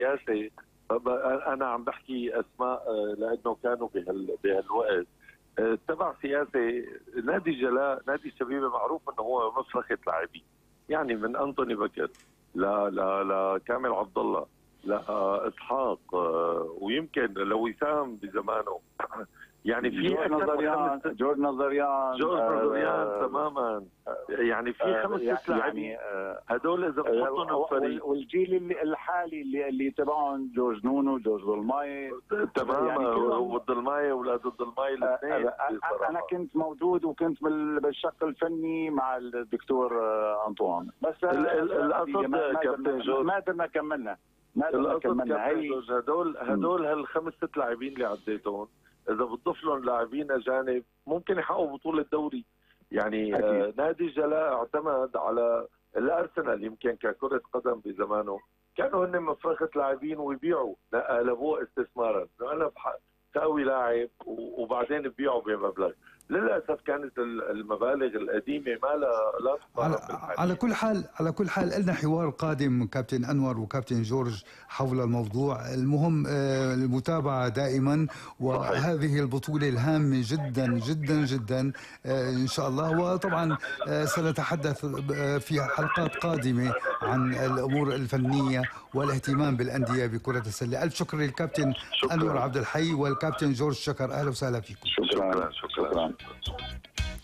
سياسي. انا عم بحكي اسماء لانه كانوا بهالوقت تبع سياسي. نادي الجلاء نادي الشبيبه معروف انه هو مفرخه لاعبين، يعني من انطوني بكر لكامل عبد الله لاسحاق ويمكن لوسام بزمانه. يعني في جورج نظريان تماما. يعني في 5 لاعبين هدول اذا بتحطهم بفريق. والجيل الحالي اللي تبعهم جورج نونو، جورج ضلماي تماما، يعني والضلماي واولاد الضلماي الاثنين. انا كنت موجود وكنت بالشق الفني مع الدكتور انطوان، بس القصد كابتن جورج ما قدرنا كملنا. هدول ال5 لاعبين اللي عديتهم اذا بتضيف لهم لاعبين اجانب ممكن يحققوا بطوله دوري. يعني نادي الجلاء اعتمد على الارسنال يمكن ككره قدم بزمانه، كانوا هن مفرخه لاعبين ويبيعوا، لا قلبوه استثمارا. انا تقوي لاعب وبعدين ببيعه بمبلغ. للاسف كانت المبالغ القديمه ما لا على كل حال لنا حوار قادم كابتن انور وكابتن جورج حول الموضوع. المهم المتابعه دائما، وهذه البطوله الهامه جدا جدا جدا ان شاء الله. وطبعا سنتحدث في حلقات قادمه عن الامور الفنيه والاهتمام بالانديه بكره السله. الف شكر للكابتن انور عبد الحي والكابتن جورج شكر. اهلا وسهلا فيكم. شكرا.